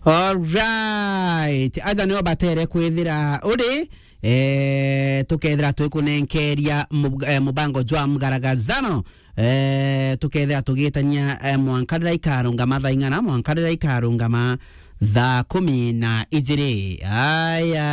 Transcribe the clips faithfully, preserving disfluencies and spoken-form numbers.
Alright. Aja nio batere kwithira uri, eh, tukethira twikunenkeria mub-, eh, mubango jwa mgaragazano. Eh, tukethira tugitania, eh, mwanka riria ikarungama thaa ing'ana, mwanka riria ikarungama thaa kumi na ijiri. Aya,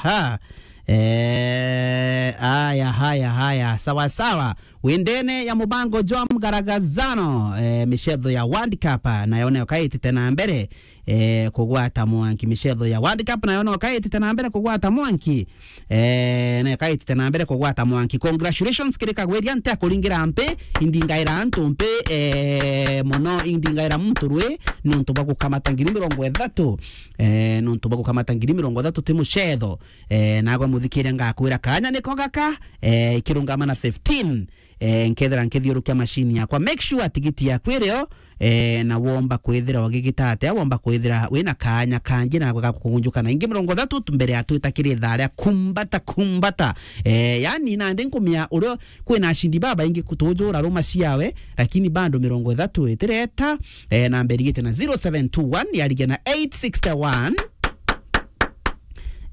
ha. Eh, aya, haya, haya. Sawa, sawa. Windene ya mubango jwa mgaragazano, eh, micetho ya World Cup, nayo nayo kaitite na mbere, eh, kugwata mwanki. Micetho ya World Cup nayo no kaitite na mbere kugwata mwanki. Eh, nayo kaitite na mbere kugwata mwanki. Congratulations kiri Kagwiria, nti akuringira mpi, indingaira antu mpi, eh, mono indingaira muntu rwi, nontu bwa gukamata ngiri mirongo ithatu. Eh, nontu bwa gukamata ngiri mirongo ithatu ti mucetho. Eh, nagwe muthikiria ngakwira kanya niko gaka, eh, ikirungama na fifteen. Eh, nkethira nkithiurukia machine yakwa, make sure tigiti yaku irio, eh, na womba kwithira ugigita atia, womba kwithira wina kanya kangi na ga kugunjuka na ingi mirongo ithatu tu mbere ya twita kiri ithaa ria kumbata, kumbata. Eh, yani nandi nkumia uria kwina ashindi babaingi kutujura ruma ciawe, lakini bado mirongo ithatu itireta, eh, namba irigite na zero seven two one yarigia na eight sixty one.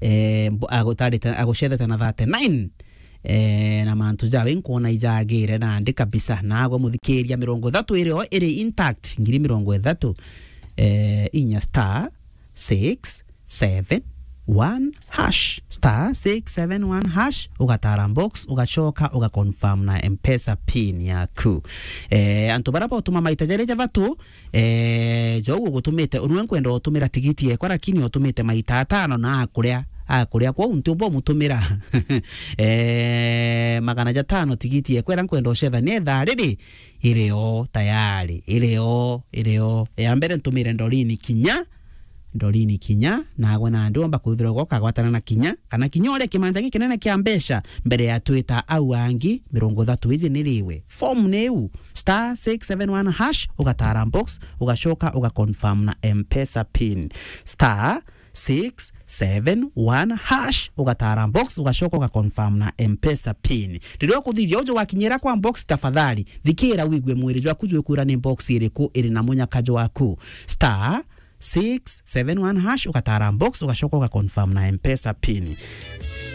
Eh, mbo-, agutarite, agucethete na thirty-nine. Eh, na mantu jawe nkwona ijagire nandi kabisa. Nagwe muthikiria, mirongo ithatu irio iri intact, ngiri mirongo ithatu. Eh, inya star six seven one hash. Star six seven one hash, ugatara box, ugacoka, ugaconfirm na M-Pesa pin yaku. Eh, antu bara botuma maita jari jathatu, eh, jou ugutumite, unwe nkwenda utumira tigiti yekwa, lakini utumite maita atano na akuria, akuria kwou ntiumba umutumira. Eh, magana jatano tigiti yekwa, ira nkwenda ucethania ithaa riri, iri o tayari, iri o, iri o. Ya mbere ntumire Ndorini Kinya, Ndorini Kinya, nagwe nandi womba kwithirwa ugoka gwatana na Kinya, kana Kinya uria kimanja gikinene kia mbeca mbere ya twita au angi mirongo ithatu iji niriwe. Form ni iu, star six seven one hash, ugatara box, ugacoka ugaconfirm na M-Pesa pin. Star six seven one hash, ugatara box, ugacoka ugaconfirm na M-Pesa pin. Riria ukuthithia uju wakinyira kwa box, tafadhali, thikira wigue mwiri jwaku jwikwira ni box iriku iri na munyaka jwaku. Star six seven one hash, ugatara box, ugacoka ugaconfirm na M-Pesa pin.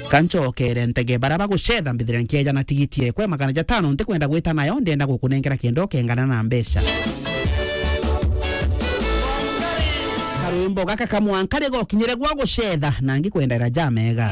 Kanchokere ntege bara bagucetha mbithire nkieja na tigiti ekwe magana jatano, ntikwenda gwita nayo, ndenda gukunengera kienda ukengana na mbeca. Karwimbo gaka kamwanka rigokinyire gwa gucetha, na ngikwendera jamega.